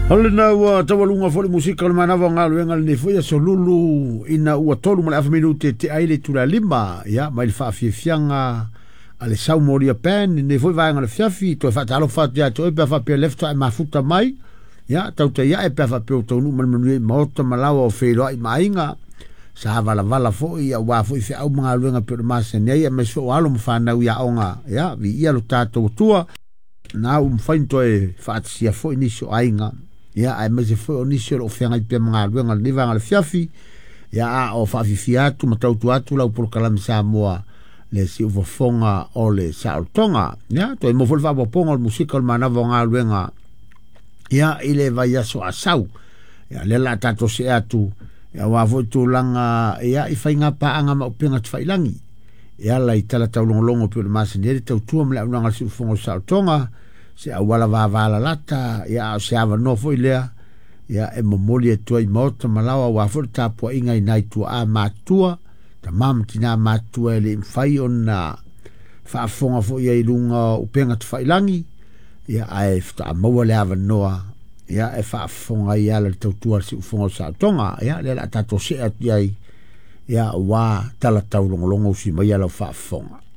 O lena ua taualuga foi le musika o le manava o galuega lenei foi aso Lulu ina ua 3 ma le afa minute te ai le itula 5, ia mai le faafiafiaga a le Saumolia Band lenei foi vaega o le fiafi. Toe faatalofa atu ia te oe pe a faapea le faatoa e mafuta mai, ia tautai ae pe a faapea o taunuu ma le manuia i maota ma laoa o feiloai ma aiga sa valavala foi aua foi feau ma galuega pei o le masani ai, aemaise foi o alo ma fanau i aoga. Ia viia lo tatou Atua na ua mafai ona toe faatasia foi nisi o aiga, ia aemaise foi o nisi o loo feagai pea ma galuega lenei vaega o le fiafi, ia a o faafifia atu ma tautua atu lau polokalame Samoa le siufofoga o le saolotoga. Ia toe mo foi le faaopoopoga o le musika o le manava o galuega, ia i le vaiaso asau, ia lea la tatou see atu, ia aua foi tulaga ia i faiga paaga ma upega tafailagi e ala i tala taulogologo pei o le masani ai le tautua ma le auaunaga a le siufofoga o le saolotoga, se auala vavalalata, ia a o se avanoa foi lea ia e momoli atu ai maota ma laoa aua foi le tapuaiga i nai tuaa matutua, tama ma tinā matutua e le i mafai ona faafofoga foi ai i luga o upega tafailagi, ia ae faatoa maua le avanoa ia e faafofoga ai ala le tautua a le siufofoga o le saolotoga. Ia lea la tatou see atu i ai, ia ua tala taulogologo usi mai lau faafofoga.